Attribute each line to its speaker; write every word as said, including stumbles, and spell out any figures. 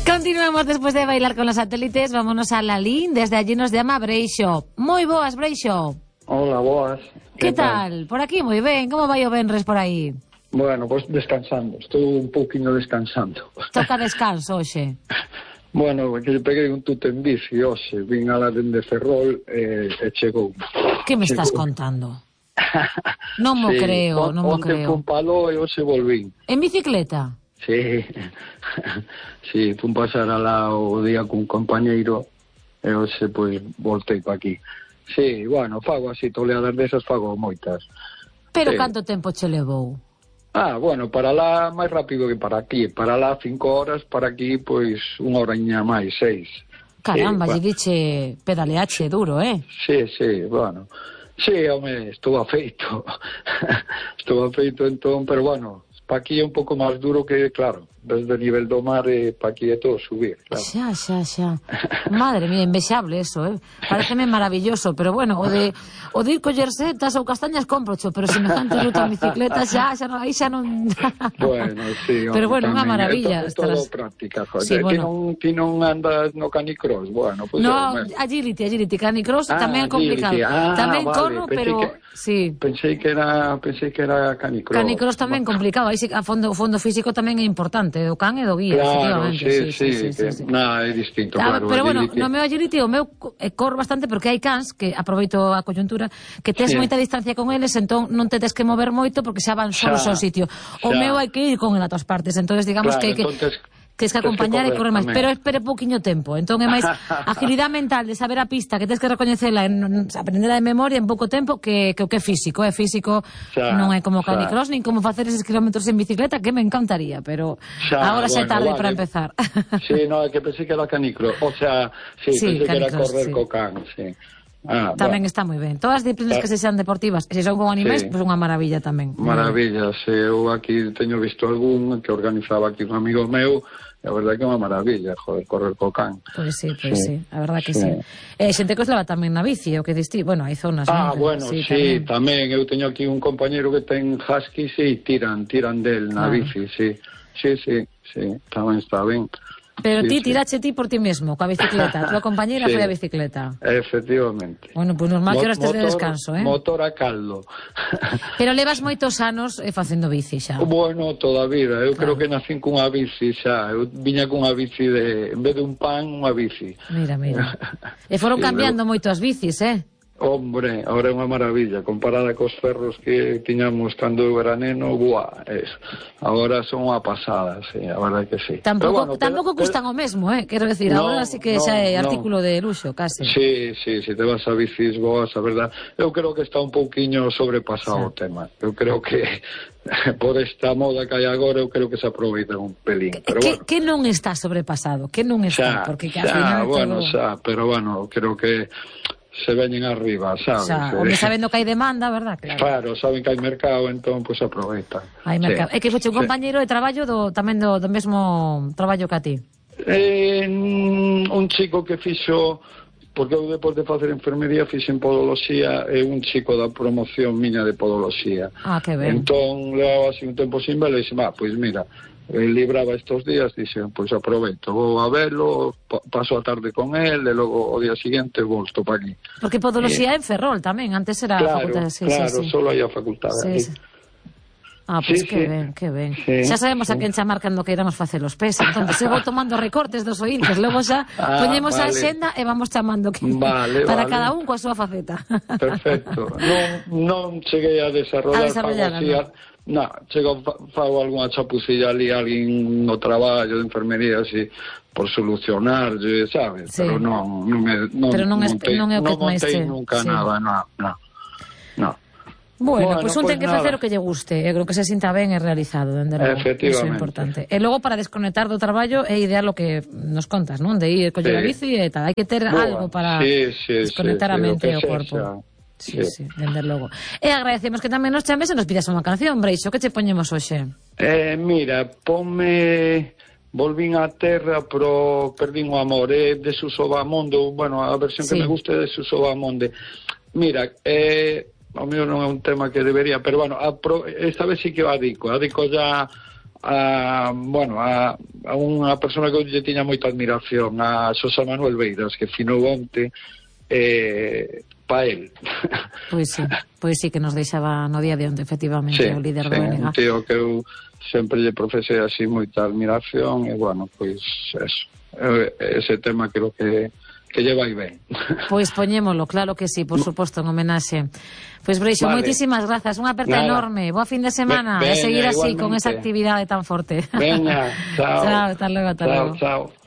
Speaker 1: Continuamos después de bailar con los satélites. Vámonos a Lalín. Desde allí nos llama Breixo. Moi boas, Breixo.
Speaker 2: Hola, boas.
Speaker 1: Que tal? tal? Por aquí moi ben. Como vai o venres por aí?
Speaker 2: Bueno, pois pues descansando. Estou un pouquinho descansando.
Speaker 1: Toca descanso hoxe.
Speaker 2: Bueno, que peguei un tute en bici hoxe. Vin a la dende Ferrol e, e chegou.
Speaker 1: Que me
Speaker 2: chegou.
Speaker 1: estás contando? Non mo
Speaker 2: sí,
Speaker 1: creo, non mo creo.
Speaker 2: Onte fun palo e hoxe volvín.
Speaker 1: En bicicleta?
Speaker 2: Sí, sí, fun pasar alá o día cun compañeiro e hoxe, pois, voltei pa aquí. Sí, bueno, fago así, toleadas desas fago moitas.
Speaker 1: Pero
Speaker 2: sí.
Speaker 1: Canto tempo che levou?
Speaker 2: Ah, bueno, para lá máis rápido que para aquí. Para lá cinco horas, para aquí, pois, unha horaña máis, seis.
Speaker 1: Caramba, lle
Speaker 2: sí,
Speaker 1: diche pedaleache duro, eh?
Speaker 2: Sí, sí, bueno. Sí, home, estou afeito. estou afeito entón, pero bueno, pa aquí é un pouco máis duro que, claro, desde o nivel do mar e pa aquí é todo subir, claro.
Speaker 1: Xa, xa, xa. Madre mía, envexable eso, eh? Pareceme maravilloso, pero bueno, o de o de ir coller setas ou castañas comprocho, pero semejante ruta en bicicleta xa, xa non, aí xa non...
Speaker 2: Bueno, sí,
Speaker 1: pero bueno, unha maravilla.
Speaker 2: É todo práctica, joder.
Speaker 1: Sí,
Speaker 2: bueno. Ti,
Speaker 1: non,
Speaker 2: ti non andas no canicross, bueno, pues
Speaker 1: no,
Speaker 2: yo,
Speaker 1: agility, agility, canicross
Speaker 2: ah,
Speaker 1: tamén é complicado.
Speaker 2: Ah,
Speaker 1: tamén
Speaker 2: vale,
Speaker 1: corro, pero
Speaker 2: que,
Speaker 1: sí.
Speaker 2: Pensei que era, pensei que era canicross.
Speaker 1: Canicross tamén
Speaker 2: bueno.
Speaker 1: complicado, aí sí, a fondo, o fondo físico tamén é importante, do can e do guía,
Speaker 2: claro,
Speaker 1: efectivamente.
Speaker 2: Sí, sí,
Speaker 1: sí, sí, sí,
Speaker 2: que,
Speaker 1: sí, sí.
Speaker 2: Nada, é distinto,
Speaker 1: ah,
Speaker 2: claro.
Speaker 1: Pero bueno,
Speaker 2: agility.
Speaker 1: no meu agility o meu eh, corro bastante porque hai cans que aproveito a coyuntura que tes
Speaker 2: sí.
Speaker 1: moita distancia con eles, entón non te tes que mover moito porque xa van solos ao sitio. O
Speaker 2: xa.
Speaker 1: meu hai que ir con el a todas partes, entonces digamos
Speaker 2: claro,
Speaker 1: que hai que
Speaker 2: entonces...
Speaker 1: Tens que acompañar
Speaker 2: que
Speaker 1: e correr máis,
Speaker 2: tamén.
Speaker 1: pero espere pouquiño tempo. Entón é máis agilidade mental de saber a pista, que tens que recoñecela, en, aprendela de memoria en pouco tempo que, que o que é físico. É físico, xa, non é como canicross, nin como facer eses kilómetros en bicicleta, que me encantaría, pero xa, agora xa é tarde vale. para empezar.
Speaker 2: Sí, no, é que pensei que era canicross, o sea, sí,
Speaker 1: sí
Speaker 2: pensei que era correr
Speaker 1: sí.
Speaker 2: co can, sí. Ah,
Speaker 1: tamén
Speaker 2: bueno.
Speaker 1: está moi ben. Todas as disciplinas que se sean deportivas, e se son con animais, sí. pois pues unha maravilla tamén.
Speaker 2: Maravillas. Eu aquí teño visto algún que organizaba aquí un amigo meu. A verdade que é unha maravilla, joder, correr co can.
Speaker 1: Pois sí, pois sí, sí. a verdade que sí. sí. Eh, xente que os leva tamén na bici, o que distí, bueno, hai zonas,
Speaker 2: Ah,
Speaker 1: non?
Speaker 2: bueno, sí, sí tamén. tamén. Eu teño aquí un compañeiro que ten husky, sí, tiran, tiran del na claro. bici, sí. Sí, sí, sí, tamén está ben.
Speaker 1: Pero
Speaker 2: sí,
Speaker 1: ti
Speaker 2: sí.
Speaker 1: tirache ti por ti mesmo, coa bicicleta. A tua compañeira sí. foi a bicicleta.
Speaker 2: Efectivamente.
Speaker 1: Bueno, pois pues normal que ahora estés de descanso, eh?
Speaker 2: Motor a caldo.
Speaker 1: Pero levas moitos anos eh, facendo bici xa.
Speaker 2: Bueno, toda a vida. Eu
Speaker 1: claro.
Speaker 2: creo que nacín cunha bici xa. Eu viña cunha bici de... En vez de un pan, unha bici.
Speaker 1: Mira, mira. E foron sí, cambiando luego... moito as bicis, eh?
Speaker 2: Hombre, ahora é unha maravilla comparada cos ferros que tiñamos cando eu era neno, buah, es. Agora son unha pasada, sí, a verdade que sí.
Speaker 1: Tampouco,
Speaker 2: bueno,
Speaker 1: tampouco
Speaker 2: pero,
Speaker 1: custan o mesmo, eh, quero decir,
Speaker 2: no,
Speaker 1: agora sí que
Speaker 2: no,
Speaker 1: xa é
Speaker 2: no.
Speaker 1: artículo de luxo, case.
Speaker 2: Sí, sí, si te vas a bicis boas, a verdade, eu creo que está un pouquiño sobrepasado sí. o tema. Eu creo que por esta moda que hai agora, eu creo que se aproveita un pelín, pero
Speaker 1: que,
Speaker 2: bueno.
Speaker 1: Que non está sobrepasado? Que non está?
Speaker 2: Xa,
Speaker 1: porque que
Speaker 2: xa,
Speaker 1: al final
Speaker 2: bueno,
Speaker 1: todo...
Speaker 2: xa, pero bueno, creo que se veñen arriba, sabes?
Speaker 1: Xa, home, sabendo que hai demanda, verdad? Claro,
Speaker 2: claro saben que hai mercado, entón, pois, pues, aproveitan.
Speaker 1: Hai mercado. Sí. É que foche un compañeiro sí. de traballo do, tamén do, do mesmo traballo que a ti.
Speaker 2: Eh, un chico que fixo, porque eu depois de facer enfermería fixen podoloxía, e un chico da promoción miña de podoloxía.
Speaker 1: Ah, que ben.
Speaker 2: Entón, levaba así un tempo sin vela e dixe, va, pois mira, el libraba estos días, dixen, pois aproveito, vou a velo, paso a tarde con él, e logo o día siguiente volto para aquí.
Speaker 1: Porque podoloxía eh, en Ferrol tamén, antes era
Speaker 2: claro,
Speaker 1: facultade. Sí,
Speaker 2: claro,
Speaker 1: sí, sí.
Speaker 2: solo hai a facultade.
Speaker 1: Sí, sí. Ah, pois pues sí, que sí. ben, que ben. Sí, xa sabemos sí. a quen chamar cando queiramos facer os pés, entón se vou tomando recortes dos oíntes, logo xa ah, poñemos vale. a xenda e vamos chamando que
Speaker 2: vale,
Speaker 1: para
Speaker 2: vale.
Speaker 1: cada un coa súa faceta.
Speaker 2: Perfecto. Non, non cheguei a desarrollar,
Speaker 1: a desarrollar
Speaker 2: fago no, chego, fago algunha chapucilla ali a alguén no traballo de enfermería así por solucionar, sabes? Sí. Pero non, non, me, non,
Speaker 1: Pero non,
Speaker 2: montei,
Speaker 1: non é o que
Speaker 2: non montei
Speaker 1: che...
Speaker 2: nunca
Speaker 1: sí.
Speaker 2: nada, no, no, no.
Speaker 1: Bueno, bueno, pois pues un
Speaker 2: pues
Speaker 1: ten que
Speaker 2: nada.
Speaker 1: facer o que lle guste, eu creo que se sinta ben e realizado, dende logo. Eso é importante. E logo para desconectar do traballo é ideal o que nos contas, non? De ir coller sí. a bici e tal, hai que ter bueno, algo para
Speaker 2: sí, sí,
Speaker 1: desconectar
Speaker 2: sí,
Speaker 1: a mente
Speaker 2: sí,
Speaker 1: e o corpo.
Speaker 2: Sea.
Speaker 1: Sí, sí, sí, dende logo. E agradecemos que tamén nos chames e nos pidas unha canción, Breixo, que che poñemos hoxe?
Speaker 2: Eh, mira, ponme Volvín á terra, pero perdín o amor, é de Suso Bahamonde, bueno, a versión sí. que me gusta é de Suso Bahamonde. Mira, eh, o mío non é un tema que debería, pero bueno, a pro, esta vez sí que o adico, adico ya a, bueno, a, a unha persona que lle tiña moita admiración, a Xosé Manuel Beiras, que finou onte eh, pa él.
Speaker 1: Pois sí, pois sí que nos deixaba no día de onte, efectivamente, sí, o líder
Speaker 2: sí,
Speaker 1: do B N G.
Speaker 2: Un tío que eu sempre lle profesei así moita admiración, e bueno, pois eso, ese tema creo que que lle vai ben. Pois
Speaker 1: poñémolo, claro que sí, por suposto, en homenaxe. Pois Breixo, vale, moitísimas grazas, unha aperta Nada. enorme, boa fin de semana, e seguir así, igualmente, con esa actividade tan forte.
Speaker 2: Veña, chao.
Speaker 1: Chao, hasta logo, hasta
Speaker 2: chao,
Speaker 1: logo.
Speaker 2: Chao.